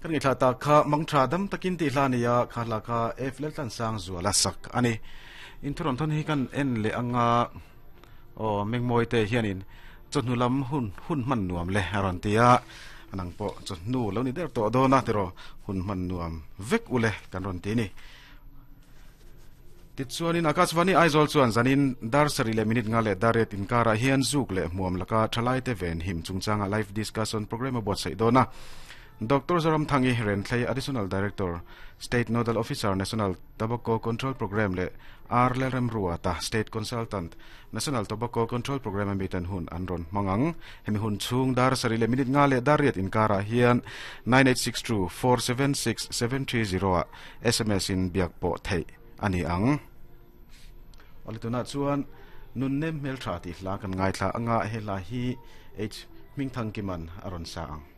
Kan ngaihthla tak kha mangtha dam takin tih hla a ni a, kha hla kha F Laltlansangzuala sak a ni. Inthurawm thawn hi kan en leh anga aw Mengmawi te hianin chawhnu lam hun hun hman nuam le a rawn ti a, nang pawh chawhnu lo ni der tawh dawn a tiraw hun hman nuam vek ule kan rawn ti a ni. Tichuanin Akashvani Aizawl chuan zanin dar sarih leh minute nga leh dar riat inkarah hian zuk leh hmuam laka thalaite ven him chungchanga live discussion programme a buatsaih dawn a. Doctor Zoramthangi Renthlei Additional Director, State Nodal Officer, National Tobacco Control Programme leh R Lalremruata, State Consultant, National Tobacco Control Programme a miten hun an rawn hmang ang. Hemi hun chhung dar sarih leh minute nga leh dar riat inkarah hian 9862 476 730 ah sms in biak pawh theih a ni ang. Awle tunah chuan Nunnem Hmeltha tih hla kan ngaithla anga he hla hi H Hmingthangkiman a rawn sa ang.